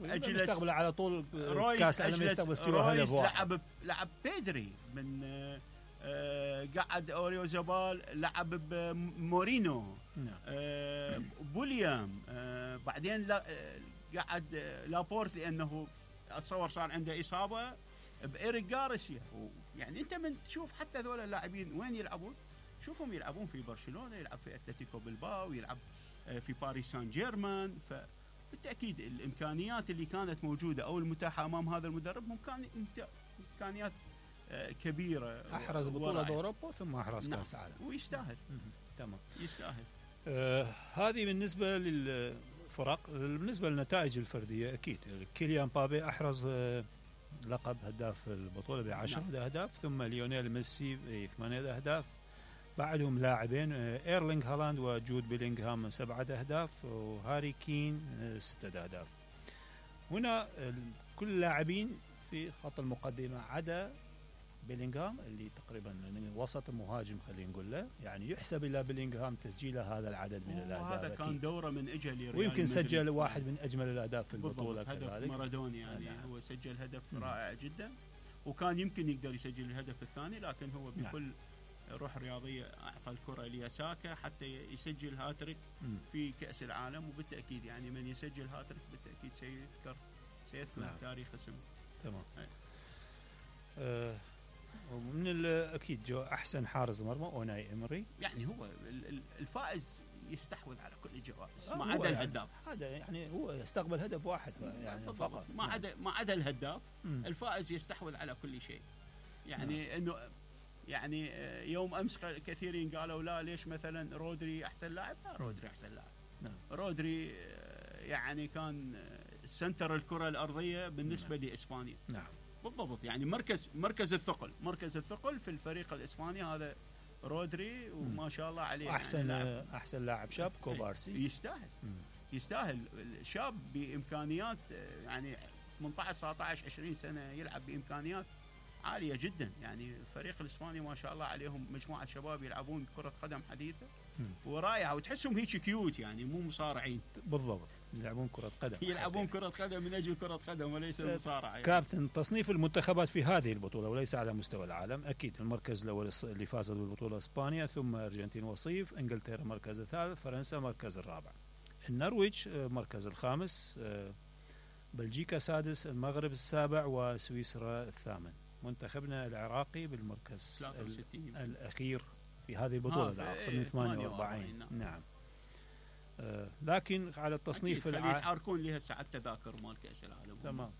اجلس يستقبل على طول رويس، كاس العالم، يستقبل سوى رويس هدف واحد. لعب بيدري من قعد اوريو زبال، لعب بمورينو، بوليام، بعدين قعد لابورت لانه اتصور صار عنده اصابه بإيريك جارسيا. يعني انت من تشوف حتى هذول اللاعبين وين يلعبون، شوفهم يلعبون في برشلونه، يلعب في اتلتيكو بلباو، يلعب في باريس سان جيرمان. فبالتاكيد الامكانيات اللي كانت موجوده او المتاحه امام هذا المدرب امكانيات كبيره. احرز بطوله اوروبا ثم احرز كاس عالم، ويستاهل. تمام، يستاهل. هذه بالنسبه للفرق. بالنسبه للنتائج الفرديه، اكيد كيليان مبابي احرز لقب هداف البطوله ب10 اهداف، ثم ليونيل ميسي ب8 اهداف، بعدهم لاعبين ايرلينغ هالاند وجود بيلينغهام 7 اهداف، وهاري كين 6 اهداف. هنا كل اللاعبين في خط المقدمه عدا بيلينغهام اللي تقريبا وسط مهاجم خلينا نقول له، يعني يحسب الى بيلينغهام تسجيله هذا العدد من الاهداف. هذا كان دوره من اجل ريال، ويمكن سجل واحد من اجمل الاهداف في البطوله هدف مارادوني يعني. هو سجل هدف رائع جدا، وكان يمكن يقدر يسجل الهدف الثاني، لكن هو بكل روح رياضيه اعطى الكره لياساكا حتى يسجل هاتريك في كاس العالم. وبالتاكيد يعني من يسجل هاتريك بالتاكيد سيذكر تاريخ اسمه. تمام. ومن اكيد جو احسن حارس مرمى اوناي امري. يعني هو الفائز يستحوذ على كل الجوائز ما عدا الهداف. هذا يعني هو استقبل هدف واحد يعني فقط، ما عدا الهداف. الفائز يستحوذ على كل شيء. يعني انه يعني يوم امس كثيرين قالوا لا ليش مثلا رودري احسن لاعب. لا، رودري احسن لاعب. رودري يعني كان سنتر الكره الارضيه بالنسبه لاسبانيا. نعم بالضبط. يعني مركز الثقل في الفريق الاسباني هذا رودري، وما شاء الله عليه. احسن لاعب شاب كوبارسي. يستاهل شاب بامكانيات يعني 18 19 20 سنه يلعب بامكانيات عاليه جدا. يعني الفريق الاسباني ما شاء الله عليهم مجموعه شباب يلعبون كره قدم حديثه ورائعه، وتحسهم هيك كيوت يعني مو مصارعين. بالضبط، يلعبون كرة قدم من أجل كرة قدم وليس مصارعة. يعني. كابتن، تصنيف المنتخبات في هذه البطولة وليس على مستوى العالم، أكيد المركز الأول اللي فازت بالبطولة إسبانيا، ثم أرجنتين وصيف، إنجلترا مركز الثالث، فرنسا مركز الرابع، النرويج مركز الخامس، بلجيكا سادس، المغرب السابع، وسويسرا الثامن. منتخبنا العراقي بالمركز الأخير في هذه البطولة أقصد 48. نعم. لكن على التصنيف يتعاركون لها ساعة التذاكر مال كأس العالم. تمام.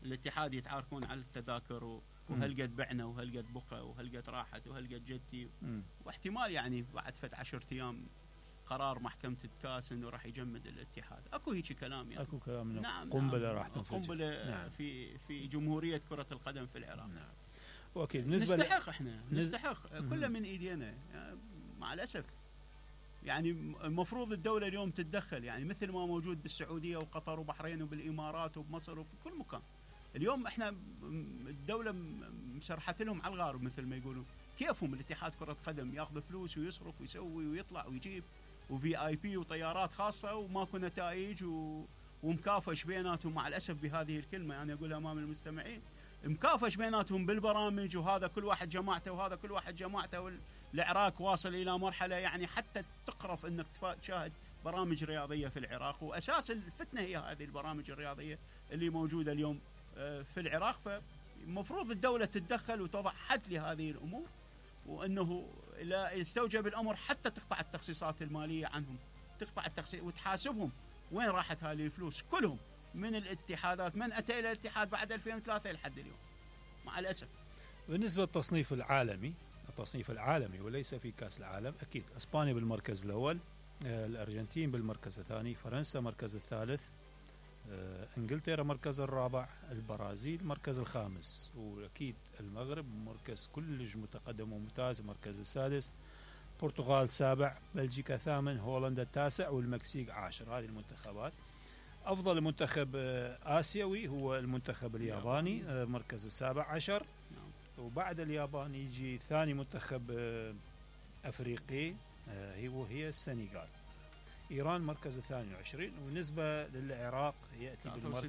الاتحاد يتعاركون على التذاكر وهل قد بعنا وهل قد بقى وهل قد راحت وهل قد جدي. واحتمال يعني بعد 10 أيام قرار محكمة الكاس انه راح يجمد الاتحاد. اكو هيك كلام يعني. اكو كلام. نعم. قنبلة راح تنفجر. قنبلة. نعم. في جمهورية كرة القدم في العراق. نعم. اوكي. نستحق احنا نستحق كله من ايدينا يعني مع الاسف. يعني المفروض الدولة اليوم تتدخل، يعني مثل ما موجود بالسعودية وقطر وبحرين وبالامارات وبمصر وفي كل مكان. اليوم احنا الدولة مسرحت لهم على الغار مثل ما يقولون. كيفهم الاتحاد كرة قدم ياخذ فلوس ويصرف ويسوي ويطلع ويجيب وفي اي بي وطيارات خاصة وماكو نتائج ومكافش بيناتهم. مع الاسف بهذه الكلمة يعني اقولها امام المستمعين، مكافش بيناتهم بالبرامج، وهذا كل واحد جماعته وهذا كل واحد جماعته. العراق واصل الى مرحلة يعني حتى تقرف انك تشاهد برامج رياضية في العراق، واساس الفتنة هي هذه البرامج الرياضية اللي موجودة اليوم في العراق. فالمفروض الدولة تتدخل وتضع حد لهذه الامور، وانه لا يستوجب الامر حتى تقطع التخصيصات الماليه عنهم، تقطع التخصيص وتحاسبهم وين راحت هذه الفلوس كلهم من الاتحادات. من اتى الى الاتحاد بعد 2003 لحد اليوم مع الاسف. بالنسبه للتصنيف العالمي وليس في كاس العالم، اكيد اسبانيا بالمركز الاول، الارجنتين بالمركز الثاني، فرنسا مركز الثالث، انجلترا مركز الرابع، البرازيل مركز الخامس، واكيد المغرب مركز كلش متقدم وممتاز مركز السادس، البرتغال سابع، بلجيكا ثامن، هولندا التاسع، والمكسيك عاشر. هذه المنتخبات. افضل منتخب اسيوي هو المنتخب الياباني مركز السابع عشر، وبعد اليابان يجي ثاني منتخب افريقي هي السنغال. إيران مركز 22. وبالنسبة للعراق يأتي بالمركز